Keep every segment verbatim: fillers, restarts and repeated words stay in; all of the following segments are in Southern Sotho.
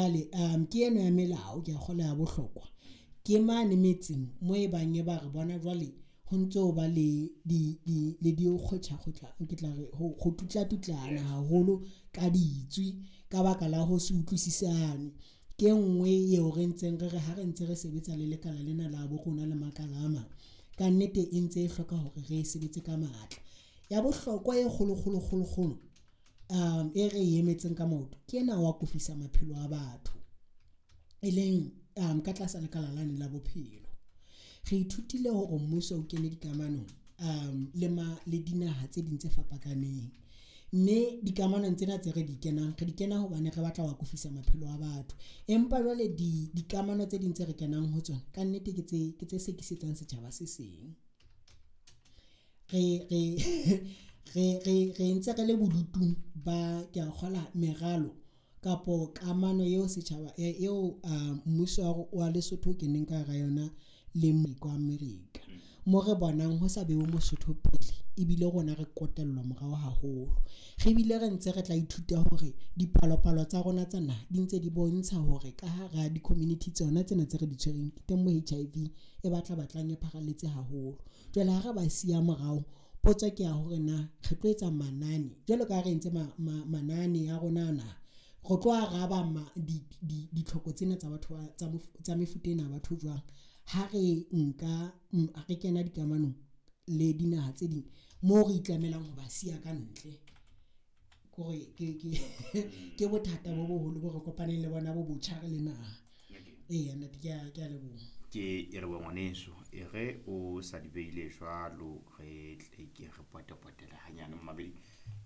Jwale um ke eno ya melao ke a kgola ya bohlokwa ke mane metseng mo e bang e ba re bona jwale ho ntso ho ba le di di le di kgotla ke tla re ho tutla tutlana haholo ka ditswi ka baka la ho se utlwisisane. Ke nngwe eo re ntseng re re ha re ntse re sebetsa le lekala lena la bo rona le makala a mang. Kannete e ntse e hloka hore re sebetse ka matla. Ya bohlokwa e kgolo kgolo kgolo kgolo e re emetseng ka maoto ke ena wa akofisa maphelo a batho, e leng ka tlasa lekala lane la bophelo. Re ithutile hore mmuso o kene dikamanong le le dinaha tse ding tse fapakaneng, mme dikamanong tsena tse re di kenang re di kena hobane re batla ho akofisa maphelo a batho. Empa jwale di dikamano tse ding tse re kenang ho tsona kannete ke tse ke tse sekisetsang setjhaba se seng. Re re re re re ntse re le bodutung ba ke a kgola meralo kapo kamano eo setjhaba eo mmuso wa Lesotho o keneng ka hara yona le kwa America. Mo re bonang ho sa bewe Mosotho pele ebile rona re kotellwa morao haholo. Re bile re ntse re tla ithuta hore dipalopalo tsa rona tsa naha di ntse di bontsha hore ka hara di-community tsona tsena tse re di tshwereng teng mo H I V e batla batlang e pharalletse haholo. Jwale ha re ba siya morao, potso ke ya hore na re tlo etsa manane jwalo ka ha re entse manane a rona na re tlo araba ditlhoko tsena tsa batho tsa mefuta ena ya batho jwang ha re nka re kena dikamanong le dinaha tse ding moo re itlamelang ho ba siya ka ntle. Kore ke ke ke bothata bo boholo bo re kopaneng le bona bo botjha re le naha. Eya ntate, ke a ke a leboha. Ke e re bo ngwaneso e re o sa di beile jwalo, re tle ke re potepotele hanyane mmamedi.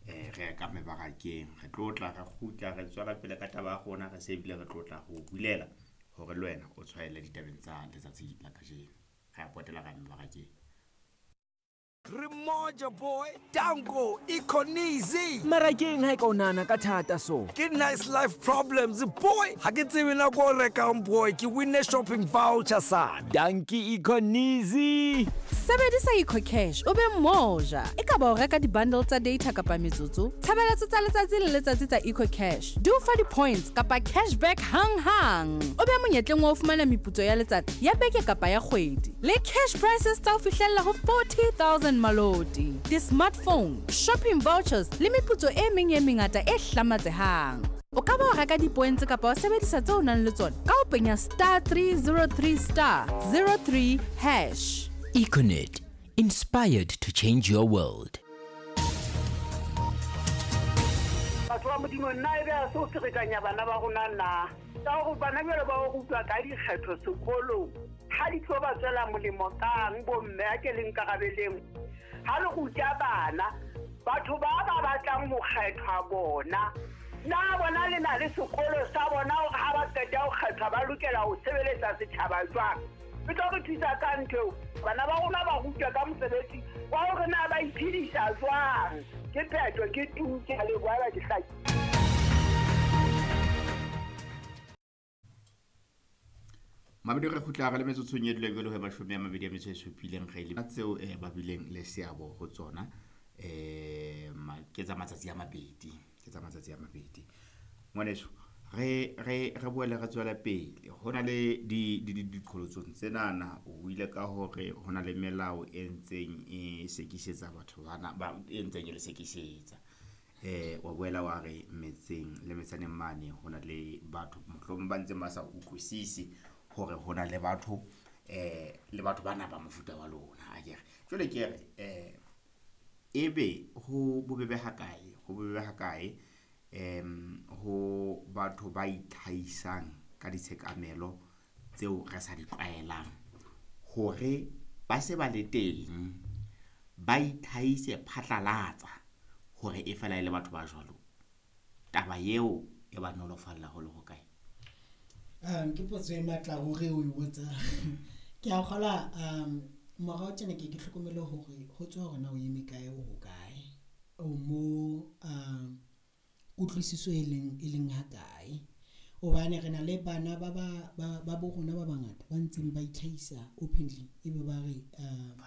Eh re ka mebarakeng, re tlo tla re kgutla re tswela pele ka taba ya rona, re se bile re tlo tla ho bulela hore le wena o tshwaele ditabeng tsa letsatsi la kajeno. Re a potela ka mebarakeng. Remoja boy, Danko, Econeasy. Marakeng ha e ka o nahana ka thata so. Ke nice life problems boy. Ha ke tsebe nako o rekang boy, ke winne shopping voucher sana. Danki Econeasy. Sebedisa EcoCash o be moja. E ka ba o reka di-bundle tsa data kapa metsotso, tshebeletso tsa letsatsi le letsatsi tsa EcoCash di o fa di-points kapa cashback hang-hang. O be monyetleng wa ho fumana meputso ya letsatsi, ya beke kapa ya kgwedi. Le cash prices tsa ho fihlella ho forty thousand maloti, di-smartphone, shopping vouchers le meputso e meng e mengata e hlamatsehang. O ka ba wa reka di-points kapa wa sebedisa tseo o nang le tsona ka ho penya star three zero three star zero three hash. Econet, inspired to change your world. Batho ba Modimo nna ebe a se o ferekanya bana ba rona na. Ka hore bana jwale ba o rutwa ka dikgetho sekolong. Ha di tlo ba tswela molemo kang bo mme a ke le nkarabeleng. Ha le ruta bana, batho ba ba batlang ho kgethwa bona. Na bona le na le sekolo sa bona hore ha ba qeta ho kgethwa ba lokela ho sebeletsa setjhaba jwang? E tlo re thusa ka ntho eo. Bana ba rona ba rutwa ka mosebetsi wa hore na ba iphedisa jwang. Ke phetho, ke tu, ke a leboha ba ke hlaki. Mabedi re kgutla re le metsotsong e dula jwalo ho mashome a mabedi a metso e supileng re le tseo eh ba bileng le seabo ho tsona eh ke tsa matsatsi a mabedi, ke tsa matsatsi a mabedi. Ngwaneso re re re boele re tswela pele ho na le di di diqholotsong tsenana o buile ka hore ho na le melao e ntseng e sekisetsa batho bana ba e ntseng e le sekisetsa. Eh wa boela wa re metseng le metsaneng mane ho na le batho mohlomong ba ntseng ba sa utlwisisi hore ho na le batho eh le batho bana ba mofuta wa lona a kere. Jwale ke re eh ebe ho bobebe ha kae, ho bobebe ha kae em ho batho ba itlhaisang ka ditshekamelo tseo re sa di tlwaelang hore ba se ba le teng ba itlhaise phatlalatsa hore e fela e le batho ba jwalo, taba eo e ba nolofalla ho le ho kae? Um ke potso e matla hore o e botsa. Ke a kgola um morao tjena ke ke hlokomele hore ho tswa hore na o eme kae o hokae, o mo um kutlwisiso e leng e leng ha kae. Hobane re na le bana ba ba ba bo rona ba bangata ba ntseng ba itlhahisa openly ebe ba re um